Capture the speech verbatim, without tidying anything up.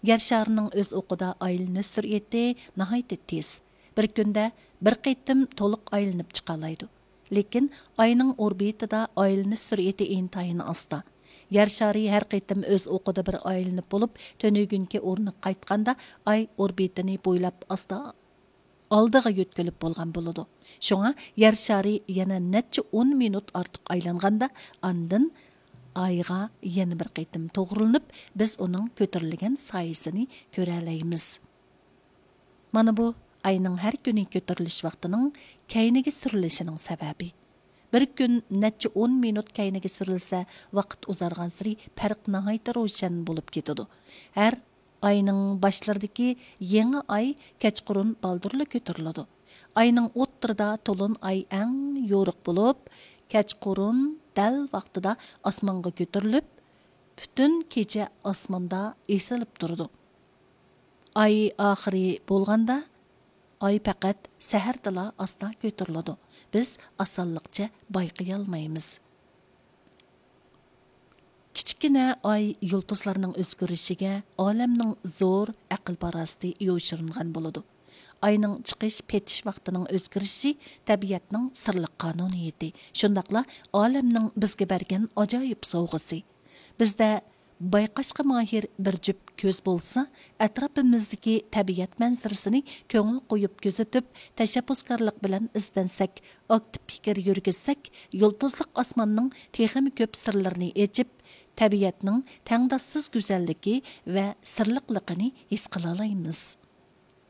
يەر شارىنىڭ ئۆز ئوقىدا ئايلىنىش سۈرئىتى ناھايىتى تېز. بىر كۈندە بىر قېتىم تولۇق ئايلىنىپ چىقالايدۇ. لېكىن ئاينىڭ ئوربىتىدا ئايلىنىش سۈرئىتى ئىنتايىن ئاستا. يەر شارى ھەر قېتىم ئۆز ئوقىدا بىر ئايلىنىپ بولۇپ، تۈنۈگۈنكى ئورنىغا قايتقاندا، ئاي ئوربىتىنى بويلاپ ئاستا ئالدىغا يۆتكىلىپ بولغان بولىدۇ. شۇڭا يەر شارى يەنە نەچچە ئون مىنۇت ئارتۇق ئايلانغاندا، ئاندىن ئايغا يەنە بىر قېتىم توغرىلىنىپ، بىز ئۇنىڭ كۆتۈرۈلگەن سايىسىنى كۆرەلەيمىز. مانا بۇ ئاينىڭ ھەر كۈنى كۆتۈرۈلۈش ۋاقتىنىڭ كەينىگە سۈرۈلۈشىنىڭ سەۋەبى. بىر كۈن نەچچە ئون مىنۇت كەينىگە سۈرۈلسە، ۋاقىت ئۇزارغانسېرى پەرق ناھايىتى روشەن بولۇپ كېتىدۇ. ھەر ئاينىڭ باشلىرىدىكى يېڭى ئاي كەچقۇرۇن بالدۇرلا كۆتۈرۈلىدۇ. ئاينىڭ ئوتتۇرىدا تولۇن ئاي ئەڭ يورۇق بولۇپ، كەچقۇرۇن دەل ۋاقتىدا ئاسمانغا كۆتۈرۈلۈپ، پۈتۈن كېچە ئاسماندا ئېسىلىپ تۇرىدۇ. ئاي ئاخىرى بولغاندا، ئاي پەقەت سەھەردىلا ئاستا كۆتۈرۈلىدۇ. بىز ئاسانلىقچە بايقىيالمايمىز. كىچىككىنە ئاي يۇلتۇزلارنىڭ ئۆزگىرىشىگە ئالەمنىڭ زور ئەقىل-پاراسىتى يوشۇرۇنغان بولىدۇ. ئاينىڭ چىقىش، پېتىش ۋاقتىنىڭ ئۆزگىرىشى تەبىئەتنىڭ سىرلىق قانۇنىيىتى، شۇنداقلا ئالەمنىڭ بىزگە بەرگەن ئاجايىپ سوۋغىسى. بىزدە بايقاشقا ماھىر بىر جۈپ كۆز بولسا، ئەتراپىمىزدىكى تەبىئەت مەنزىرىسىنى كۆڭۈل قويۇپ كۆزىتىپ، تەشەببۇسكارلىق بىلەن ئىزدەنسەك، ئاكتىپ پىكىر يۈرگۈزسەك، يۇلتۇزلۇق ئاسماننىڭ تېخىمۇ كۆپ سىرلىرىنى ئېچىپ، تەبىئەتنىڭ تەڭداشسىز گۈزەللىكى ۋە سىرلىقلىقىنى ھېس قىلالايمىز.